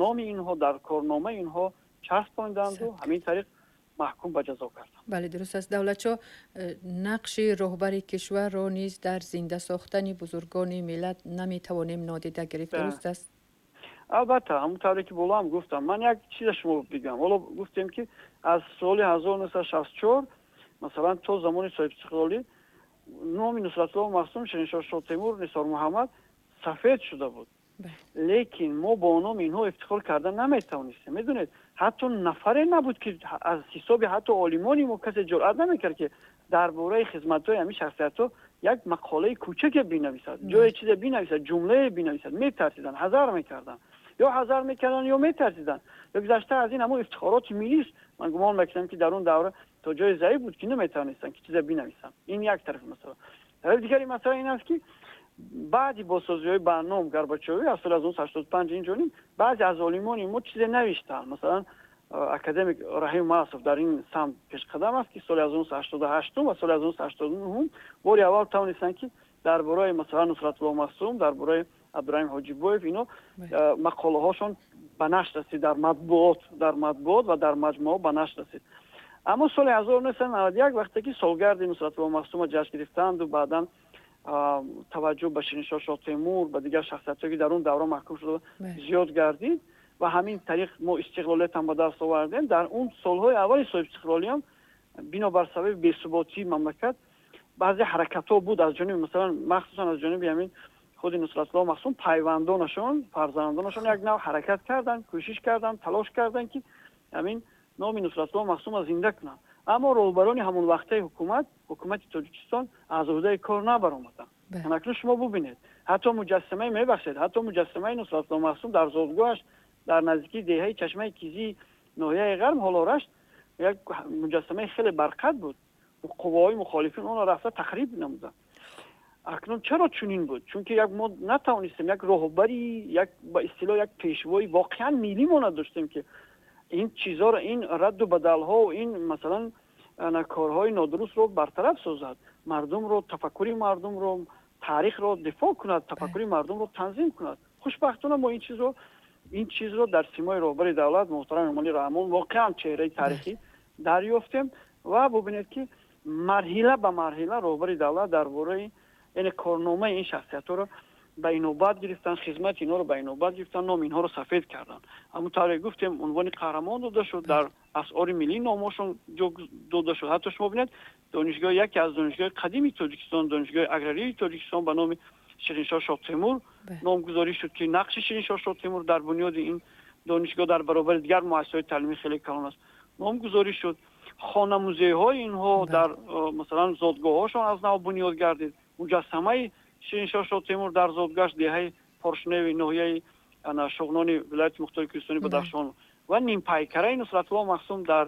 Номи инҳо дар корномаи инҳо часпонданду ҳамин тариқ маҳкум ба ҷазо карданд. Бале, дуруст аст, Давлатшо. Нақши роҳбари кишварро низ дар зинда сохтани бузургони миллат наметавонем нодида гирифт, дуруст аст? Албатта, ҳамон тавре ки боло ҳам гуфтам, ман як чиза шумо бигӯям. Ҳоло гуфтем, ки аз соли 1964, масалан, то замони соҳибистиқлолӣ номи Нусратулло Махсум, Шириншоҳ Шоҳтемур, Нисор Муҳаммад сафед шуда буд, лекин мо бо номи инҳо ифтихор карда наметавонистем. Медонед, ҳатто нафаре набуд, ки аз ҳисоби ҳатто олимони мо касе ҷуръат намекард, ки дар бораи хизматҳои ҳамин шахсиятҳо як мақолаи кӯчаке бинависад, ҷое чизе бинависад, ҷумлае бинависад. Метарсиданд, ҳазар мекарданд, ё ҳазар мекарданд, ё метарсиданд. Ё гузашта аз ин, ҳамон ифтихороти миллист, ман гумон мекунам, ки дар он давра то ҷои заиф буд, ки наметавонистанд ки чизе бинависанд. Ин як тарафи масъала. Тарафи дигари масъала ин аст, ки баъди бозсозиҳои ба ном Горбачёвӣ аз соли 1985 ин ҷониб баъзе аз олимони мо чизе навиштанд. Масалан, академик Раҳим Масов дар ин самт пешқадам аст, ки соли 1988 ва соли 1989 бори аввал тавонистанд, ки дар бораи, масалан, Нусратулло Махсум, дар бораи Абдураҳим Ҳоҷибоев ино мақолаҳошон ба нашр расид дар матбуот ва дар маҷмӯаҳо ба нашр расид. Аммо соли 1991, вақте ки солгарди Нусратулло Махсума ҷашн гирифтанду баъдан таваҷҷӯҳ ба Шириншоҳ Шоҳтемур, ба дигар шахсиятҳое, ки дар он давра маҳкум шуда, зиёд гардид ва ҳамин тариқ мо истиқлолиятам ба даст овардем, дар он солҳои аввали соҳибистиқлолиам бинобар сабаби бесуботии мамлакат баъзе ҳаракатҳо буд аз ҷониби, масалан, махсусан аз ҷониби ҳамин худи Нусратулло Махсум, пайвандонашон, фарзандонашон як нав ҳаракат карданд, кӯшиш карданд, талош карданд, ки ҳамин номи Нусратулло Махсумро зинда кунанд. Аммо роҳбарони ҳамон вақтаи ҳукумат, ҳукумати Тоҷикистон, аз уҳдаи кор набаромаданд. Акнун шумо бубинед, ҳатто муҷассамаи, мебахшед, ҳатто муҷассамаи Нусратулло Махсум дар зодгоҳаш, дар наздикии деҳаи Чашмаи Кизии ноҳияи Ғарб, ҳоло Рашт, як муҷассамаи хеле барқат буд, қувваҳои мухолифин онро рафта тахриб намуданд. Акнун чаро чунин буд? Чунки як мо натавонистем як роҳбари, як, ба истилоҳ, як пешвои воқеан миллӣ мо надоштем, ки ин чизҳоро, ин радду бадалҳо, ин, масалан, корҳои нодурустро бартараф созад, мардумро, тафаккури мардумро, таърихро дифоъ кунад, тафаккури мардумро танзим кунад. Хушбахтона, мо ин чизро дар симои роҳбари давлат муҳтарам Эмомалӣ Раҳмон, воқеан чеҳраи таърихӣ, дарёфтем. Ва бубинед, ки марҳила ба марҳила роҳбари давлат дар бораи, яъне, корномаи ин шахсиятҳоро ба инобат гирифтан, хизмати инҳоро ба инобат гирифтан, номи инҳоро сафед карданд. Ҳамон тавре гуфтем, унвони қаҳрамон дода шуд, дар асъори миллӣ номҳошон ҷо дода шуд. Ҳатто шумо бинед, донишгоҳ, яке аз донишгоҳи қадими Тоҷикистон, Донишгоҳи аграрии Тоҷикистон, ба номи Шириншоҳ Шоҳтемур номгузорӣ шуд, ки нақши Шириншоҳ Шоҳтемур дар бунёди ин донишгоҳ дар баробари дигар муассисаҳои таълимӣ хеле калон аст, номгузорӣ шуд. Хона музейҳои инҳо дар, масалан, зодгоҳҳошон аз нав бунёд гардид. Муҷассамаи Шириншоҳ Шоҳтемур дар зодгоҳаш, деҳаи Поршневи ноҳияи Шуғнони вилояти мухтори кӯҳистони Бадахшон, ва нимпайкараи Нусратулло Махсум дар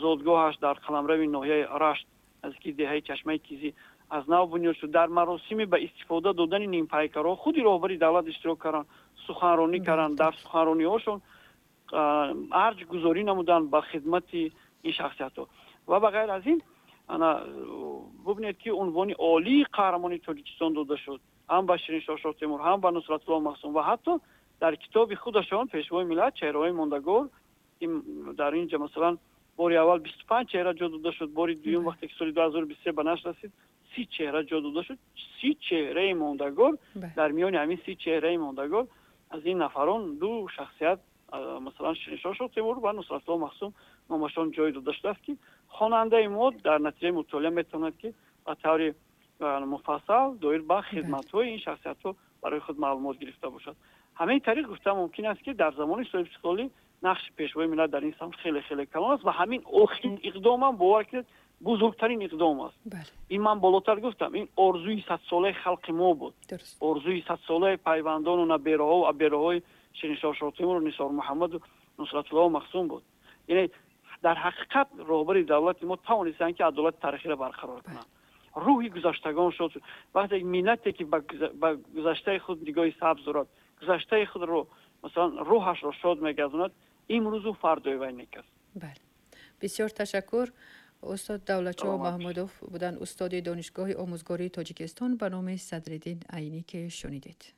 зодгоҳаш, дар қаламрави ноҳияи Рашт, наздики деҳаи Чашмаи Кизӣ, аз нав бунёд шуд. Дар маросими ба истифода додани нимпайкарҳо худи роҳбари давлат иштирок карданд, суханронӣ карданд. Дар суханрониҳошон арҷ гузорӣ намуданд ба хидмати ин шахсиятҳо. Ва ба ғайр аз ин, ана бубинед, ки унвони олии қаҳрамони Тоҷикистон дода шуд ҳам ба Шириншоҳ Шоҳтемур, ҳам ба Нусратулло Махсум. Ва ҳатто дар китоби худашон, пешвои миллат, «Чеҳраҳои мондагор», дар ин ҷа, масалан, бори аввал 25 чеҳра ҷо дода шуд, бори дуюм, вақте ки соли 2023 ба нашр расид, 30 чеҳра ҷо дода шуд, 30 чеҳраи мондагор. Дар миёни ҳамин 30 чеҳраи мондагор аз ин нафарон ду шахсият, масалан, Шириншоҳ Шоҳтемур ва Нусратулло Махсум, номашон ҷой дода шудааст, ки хонандаи мо дар натиҷаи мутолиа метавонад, ки ба таври муфассал доир ба хидматҳои ин шахсиятҳо барои худ маълумот гирифта бошад. Ҳамин тариқ гуфта мумкин аст, ки дар замони соҳибистиқлолӣ нақши пешвои миллат дар ин самт хеле хеле калон аст. Ва ҳамин охирин иқдомам, бовар кунед, бузургтарин иқдом аст. Ин ман болотар гуфтам, ин орзуи садсолаи халқи мо буд, орзуи садсолаи пайвандону набераҳо, абераҳои Шириншоҳ Шоҳтемуру Нисор Муҳаммаду Нусратулло Махсум буд. Яъне, дар ҳақиқат, роҳбари давлати мо тавонистанд, ки адолати таърихиро барқарор кунанд. Рӯҳи гузаштагон шуд. Вақте миллате, ки ба гузаштаи худ нигоҳи сабз дорад, гузаштаи худро, масалан, рӯҳашро шод мегардонад, имрӯзу фардои вай нек аст. Бале, бисёр ташаккур. Устод Давлатшоҳ Маҳмудов буданд, устоди Донишгоҳи омӯзгории Тоҷикистон ба номи Садриддин Айнӣ, ки шунидед.